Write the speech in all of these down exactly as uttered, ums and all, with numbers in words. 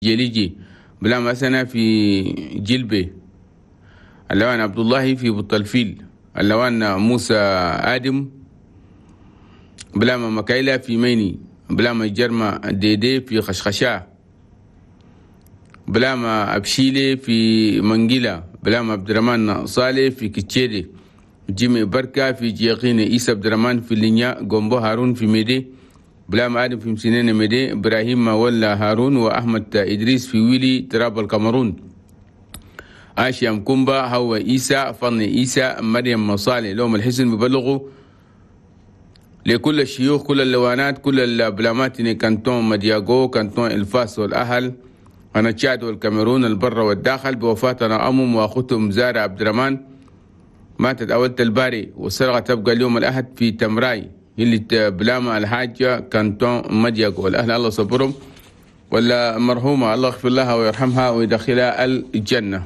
جليجي بلام حسنة في جلبي، اللوان عبد الله في بطلفيل، اللوان موسى آدم بلاما مكايلة في ميني، بلاما جرمة ديدي في خشخشة، بلاما أبشيلي في منجلة، بلاما عبد الرحمن صالح في كتشيري، جيمي بركة في جيقين، إيسا عبد الرحمن في لينيا، جومبو هارون في ميدي، بلام آدم في مسنين ميدي، إبراهيم ولا هارون وأحمد إدريس في ويلي تراب الكاميرون، آشيا مكومبا هو إيسا فن إيسا مريم صالح. لهم الحسن ببلغوا لكل الشيوخ، كل اللوانات، كل البلامات، كانتون مدياغو، كانتون الفاس والأهل، أنا تشاد والكاميرون، البر والداخل، بوفاتنا أمم وأختهم زارة عبد الرحمن ماتت أولة الباري، والسرقة تبقى اليوم الأحد في تمراي اللي بلاما الحاجة كانتون مدياغو. الأهل الله صبرهم، ولا مرحومة الله يغفر لها ويرحمها ويدخلها الجنة.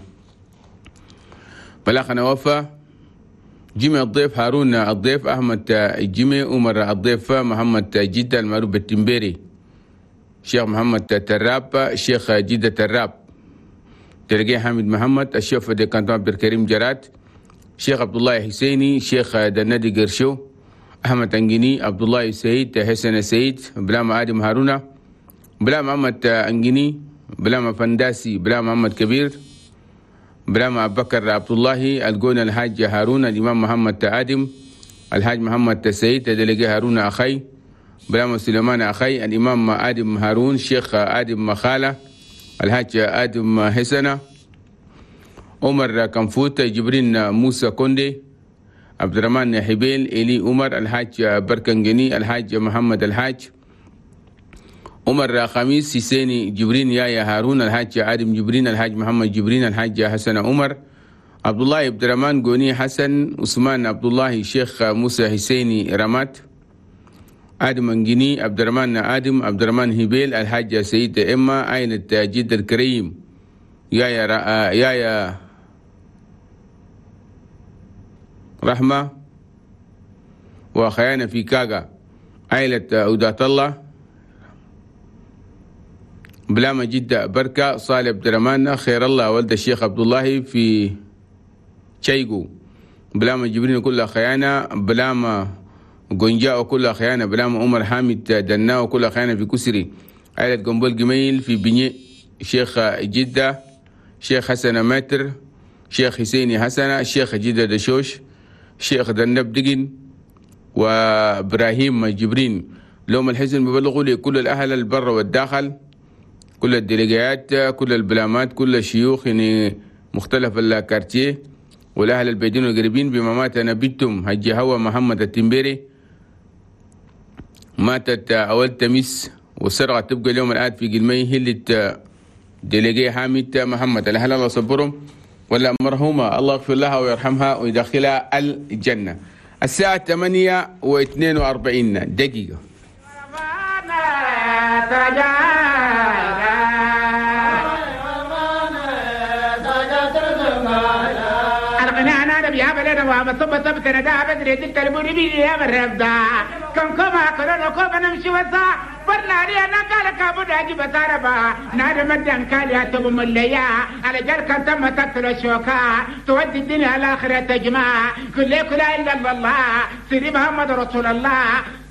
بلاغنا وفا جيمي الضيف هارون الضيف أحمد جيمي عمر الضيف محمد جدة المعروف بالتمبيري، شيخ محمد تراب شيخ جدة تراب، تلقي حامد محمد الشيخ دي كانتون عبد الكريم جرات، شيخ عبد الله حسيني شيخ دنادي قرشو، أحمد أنجيني عبد الله سعيد حسن سعيد، بلام آدم هارونا، بلام محمد أنجيني، بلام فنداسي، بلام محمد كبير، بلام أبو بكر عبد الله الجون الحاج هارون الإمام محمد آدم الحاج محمد سعيد دلقي هارون أخي، بلام سليمان أخي الإمام آدم هارون شيخ آدم مخالة الحاج آدم حسنة، عمر كنفوت جبرين موسى كوندي، عبد الرحمن حبيل إلي عمر الحاج بركنجني الحاج محمد الحاج عمر خميس سيسيني جبرين يايا هارون الحاج آدم جبرين الحاج محمد جبرين الحاج حسن عمر عبد الله عبد الرحمن جوني حسن عثمان عبد الله شيخ موسى حسيني رمات آدم انجيني عبد الرحمن آدم عبد الرحمن هبيل الحاج سيد إما عائلة جد الكريم يايا يايا رحمة وخيانة في كاغا عائلة أودات الله بلاما جدة بركة صالح عبد الرحمن خير الله ولد الشيخ عبد الله في تشيغو، بلاما جبرين كلها خيانة، بلاما جونجا وكلها خيانة، بلاما عمر حامد دنا وكلها خيانة في كسري، عائلة جنبول جميل في بني شيخ جدة شيخ حسن ماتر شيخ حسيني حسنة شيخ جدة دشوش شيخ دنب دقن وإبراهيم جبرين. لهم الحزن ببلغوا لكل الأهل البر والداخل، كل الديليجيات، كل البلامات، كل الشيوخ يعني مختلف الكارتيه والأهل البيدين والقريبين بما مات نبيتم هجي هوا محمد التمبيري ماتت أول تميس، والسرقة تبقى اليوم الآن في قلمي هلة ديليجي حامد محمد. الأهل الله صبرهم، ولا مرحومة الله يغفر لها ويرحمها ويدخلها الجنة. الساعة ثمانية واثنين وأربعين دقيقة. تودي الدنيا الآخرة تجمع كل لا إلا الله سيدي محمد رسول الله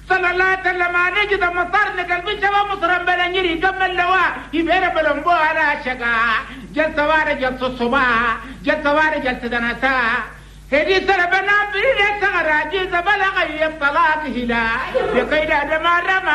صلى الله عليه وسلم. نجد مطرنا قلبي شباب مصر بلنجري كم اللواء يبير بلنبو على شقا جلسة وارا جلسة الصباح جلسة وارا جلسة دنسا هدي سلبنا بريد سغرا جيز بلغ يطلاق هلا يقيد ما رمى